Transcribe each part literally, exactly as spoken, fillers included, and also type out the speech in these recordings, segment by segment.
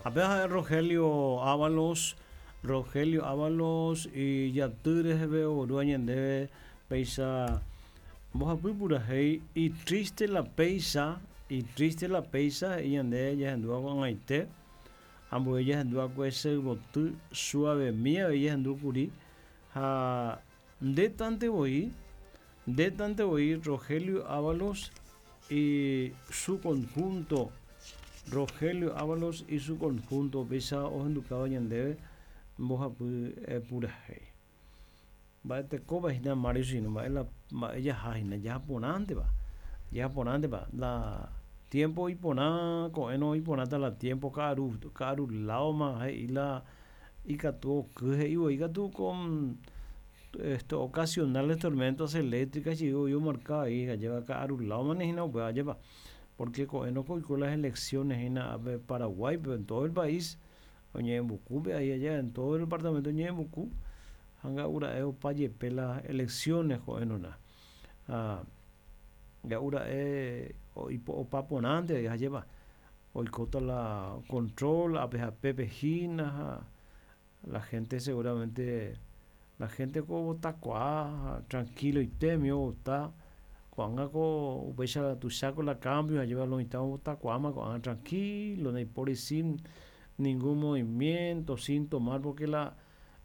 Apenas Rogelio Ábalos, Rogelio Ábalos ijaty reheve oguerúva ñandéve péicha mbohapy purahéi y triste la péicha y triste la péicha he'i ñande jahendúva ko'ag̃aite ambue jahendúvakue che yvoty suavemi avei jahendúkuri ha ndetantevoi ndetantevoi Rogelio Ábalos y su conjunto Rogelio Ábalos y su conjunto péicha ohendukáva ñandéve mbohapy purahéi mba'etekópa hína Mario sino mba'e la mba'e jaha hína jahaporãnteva jahaporãnteva la tiempo iporã ko'ẽrõ iporãta la tiempo ka'aru ka'arulávoma he'i la ikatu oky he'ivoi katu con esto ocasionales tormentas eléctricas jey omarca ahí jajéva ka'arulávomane hína upéva ajépa porque ko'ẽrõ oiko las elecciones hína ápe Paraguáipe en todo el país oñe'ẽmbukúpe ahí allá en todo el departamento oñe'ẽmbuku ha nga'ura'e opa jepe las elecciones ko'ẽrõna ha nga'ura'e opa porãnte ajépa oikóta la control ápe ha pépe hína ha la gente seguramente la gente ko ovotakuaa tranquiloitémi ovota ko'ág̃a ko upéicha tuicháko la cambio ajépa lo mitã ovotakuaáma ko'ág̃a tranquilo ndaipóri sin ningún movimiento sin tomar porque la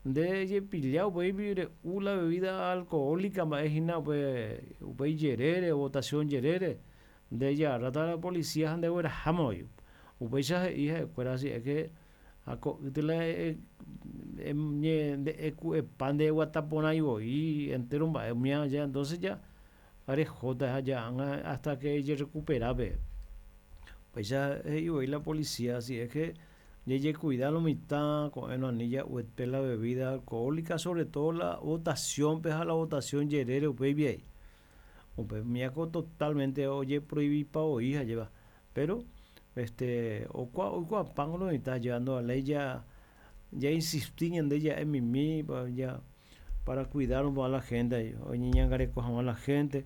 nde jepilla upéi re'u la bebida alcohólica mba'e hína upe upéi jerére votación jerére nde jaráta la policía ha ndegueraháma upéicha he'i ha'ekuéra si es que ha ko'ýte la nde'eku'epa ndeguataporãi voi entero mba'e umíva ya entonces ya rehóta ág̃a hasta que ejerrecuperápe upéicha he'ivoi la policía si es que jejekuida lo mitã ko'ẽrõ ani ja'uete la bebida alcohólica sobre todo la votación-pe ha la votación jerére upéi upe umívako totalmente ojeprohibipa voi ajépa pero este okua oikuaapáko lo mitã llevando la ley ya ya insisti ñande ja'emimi ya para cuidar a la gente oñeñangareko hag̃ua la gente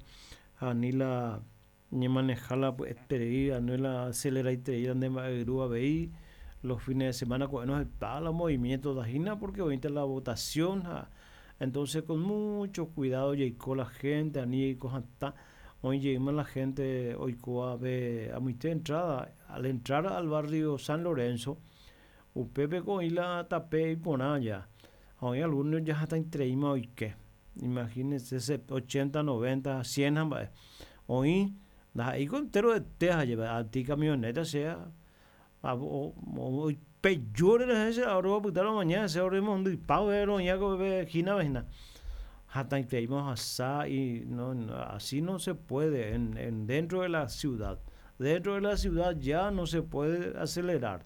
ha ani la ñemaneja la pya'eterei ani la aceleraiterei nde mba'eyru avei los fines de semana ko'ẽrõ heta la movimiento hína porque oĩta la votación ha entonces con mucho cuidado jaiko la gente ani jaiko hatã oĩjeýma la gente oikóvape amoite entrada al entrar al barrio San Lorenzo upépeko oĩ la tape iporã ya ha oĩ algunos ya hatãitereíma oike imagínese ochenta, noventa, cien ha mba'e oĩ ndaha'éiko enteroete ajépa aty camioneta che oipejúre che opyta romaña hese oremondypa roĩva hína hína hatãitereíma ohasa y no, así no se puede en, en dentro de la ciudad dentro de la ciudad ya no se puede acelerar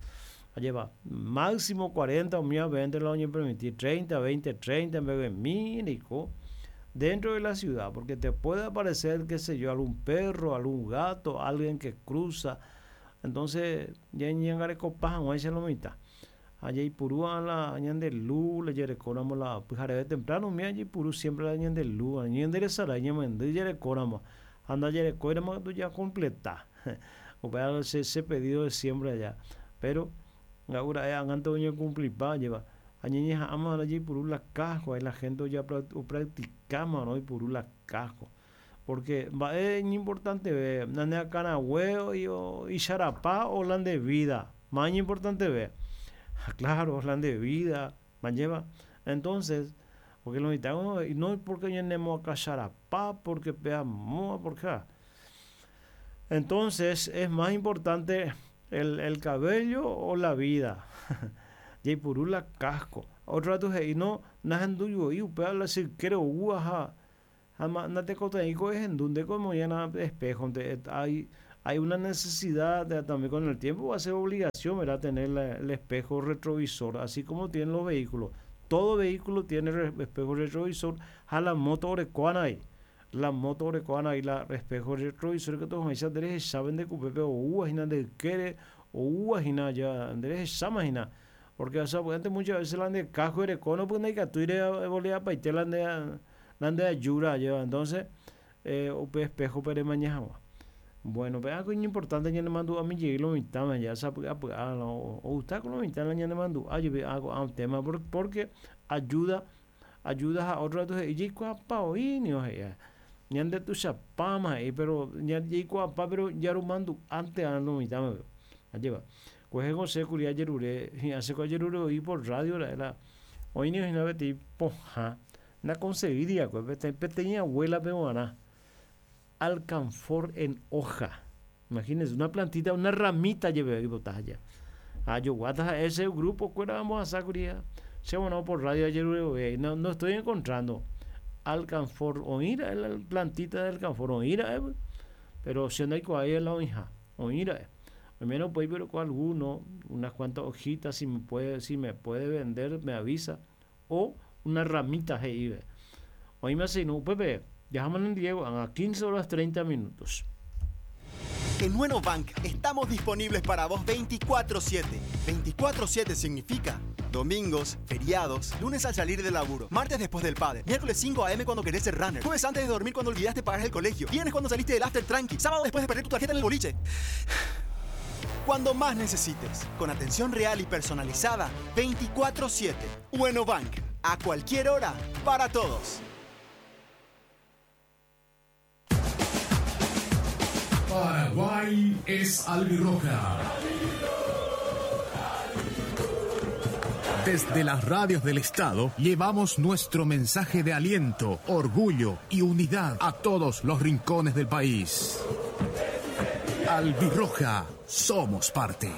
lleva máximo cuarenta umíva veinte la oñepermitir treinta, veinte, treinta en vez de mil dentro de la ciudad porque te puede aparecer qué sé yo algún perro algún gato alguien que cruza entonces ya ñangarekopa hag̃uáicha lo mitã ha jaipurúva la ñande luz jarekóramo la pyhareve temprano umíva jaipuru siempre la ñande luz ñanderesarái ñamendy jarekóramo ha ndajarekóiramo katu ya completa upéva ese, ese pedido de siempre allá pero nga'ura'e ág̃ante oñecumplipa ajépa ha ñañeha'ãma jaipuru la casco ahí la gente opracticáma oipuru la casco porque mba'e iñimportanteve ñane akãrague icharapa o la nde vida más iñimportanteve claro la nde vida ajépa entonces porque lo mitã no porque ñanemoakãcharapa porque peamóva porque entonces es más importante el, el cabello o la vida jaipuru la casco otro rato he'i no nahendúi upéva la sykére ou ha ha natekotevẽiko ehendu ndéko emoĩana espejo hay, hay una necesidad de, también con el tiempo va a ser obligación ¿verdad? Tener la, el espejo retrovisor así como tienen los vehículos todo vehículo tiene espejo retrovisor ha la moto orekóana ahí la moto orekóana ahí la espejo retrovisor que todos nderehechave ndekupépe oúva hína nde ykére oúva hína ya nderehecháma hína porque sapy'ánte muchas veces la nde casco erekóno pues ndaikatúi revoleapaite la nde la nde ayúra lleva entonces eh, upe espejo-pe remaña hag̃ua Bueno, pe algo importante ñanemandu'ami jey lo mitãme ya sapy'apy'a ogusta ko lo mitã la ñanemandu'a jepe ko'ã tema porque ayuda ayuda ha otro rato he'i jaikuaapa oĩnio he'i ñande tuichapáma he'i pero jaikuaapa pero jaromandu'ánte lo mitãme ajépa kuehe osẽkuri ajerure hi'ãse ko ajerure oĩ por radio ra'e la oĩnio hína peteĩ pohã naconseguíriakue peteĩ abuela-pe g̃uarã alcanfor en hoja. Imagínense, una plantita, una ramita lleve oipota allá. Ajoguáta ese grupo kuéra ambohasákuri che bueno por radio ajerure no, no estoy encontrando alcanfor oĩra'e la plantita de alcanfor oĩra'e pero che ndaikuaái la oĩha oĩra'e menos puede pero con alguno unas cuantas hojitas si me puede si me puede vender me avisa o una ramita he'ive oĩme no upépe Dejamos en Diego a quince horas treinta minutos. En Nueno Bank estamos disponibles para vos veinticuatro siete. veinticuatro siete significa domingos, feriados, lunes al salir del laburo, martes después del padre, miércoles cinco a eme cuando querés ser runner, jueves antes de dormir cuando olvidaste pagar el colegio, viernes cuando saliste del after tranqui, sábado después de perder tu tarjeta en el boliche. Cuando más necesites, con atención real y personalizada, veinticuatro siete. Bueno Bank, a cualquier hora, para todos. Paraguay es albirroja. Desde las radios del Estado llevamos nuestro mensaje de aliento, orgullo y unidad a todos los rincones del país. Albirroja, somos parte.